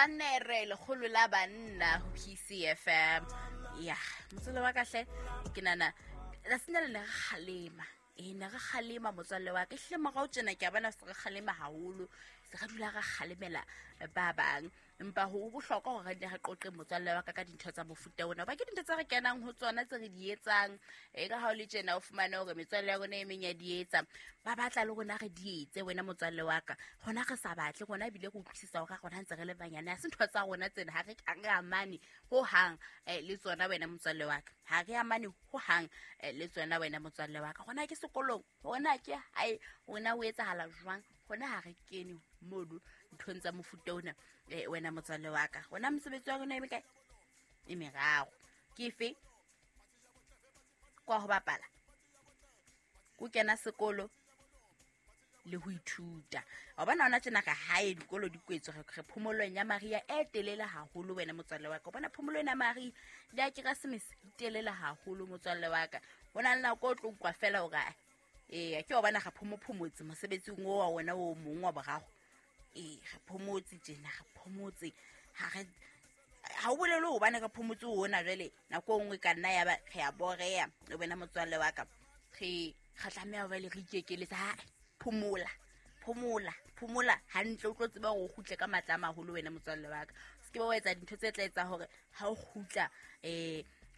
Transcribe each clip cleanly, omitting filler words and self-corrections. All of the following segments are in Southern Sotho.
Sannere, lekgolo la banna ho PCFM. Ya, motswalle wa ka hle, ke nana tsatsing le ne re kgalema. Ee, ne re kgalema, motswalle wa ka. Ehlile morao tjena ke a bona se re kgalema haholo, se re dula re kgalemela ba bang. Empa ho bohlokwa hore re nne re qoqe, motswalle wa ka, ka dintho tsa mofuta ona, hoba ke dintho tse re kenang ho tsona, tse re di etsang. E ka ha o le tjena, o fumane hore metswalle ya rona e meng ya di etsa, ba batla le rona re di etse. Wena motswalle wa ka, rona re sa batle, rona ebile re utlwisisa hore rona ntse re le banyane, ha se ntho tsa rona tsena, ha re amane ho hang le tsona. Wena motswalle wa ka, ha re amane ho hang le tsona. Wena motswalle wa ka, rona ke sekolong, rona ke hae, rona o etsahala jwang, rona ha re kene mono nthong tsa mofuta ona. Wena motswalle wa ka, rona mosebetsi wa rona e mekae? E meraro. Ke efe? Kwa ho bapala, ko kena sekolo le ho ithuta. Wa bona, ona tjena ka hae dikolo di kwetswe, re phomolong ya mariha e telele haholo. Wena motswalle wa ka, o bona phomolo ena ya mariha le ya Keresemese di telele haholo, motswalle wa ka. Ho na le nako o tlo utlwa fela hore ee, ke wa bona re phomophomotse mosebetsing o wa wona o mong wa boraro. Ee, re phomotse tjena, re phomotse. Ha re ha o bolele hobane re phomotse ona jwale, nako e nngwe ka nna ya ba re a boreya. Le wena motswalle wa ka, re tlameha jwale re ikekeletse. Ha phomola, phomola, phomola hantle, o tlo tseba hore o kgutle ka matla a maholo. Wena motswalle wa ka, se ke ba wa etsa dintho tse tla etsa hore ha o kgutla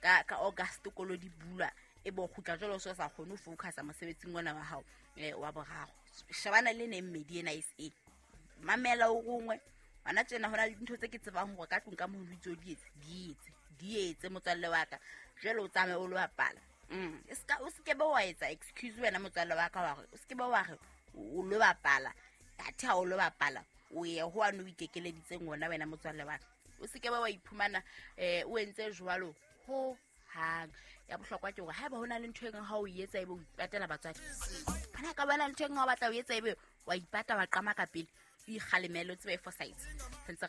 ka August kolo di bulwa, e bo kgutla jwale o se o sa kgone ho focusa mosebetsing ona wa hao wa boraro. Shebana le neng mmedi ena e se mamela o rongwe bana tjena. Ho na le dintho tse ke tsebang hore ka tlung ka mono itse o di etse, di etse, di etse, motswalle wa ka. Jwale o tsamaye o lo bapala. O se ke be wa etsa excuse, wena motswalle wa ka, wa re o se ke be wa re o lo bapala, athe ha o lo bapala, o ye ho ane o ikekeleditseng ona. Wena motswalle wa ka, o se ke be wa iphumana o entse jwalo ho hang. Ya bohlokwa ke hore haeba ho na le ntho e nngwe ha o etsa, ebe o ipatela batswadi, hona ka bona ntho e nngwe ha o batla o etsa, ebe wa ipata, wa qama ka pele, o ikgalemele, o tsebe e fosahetse. Sentse re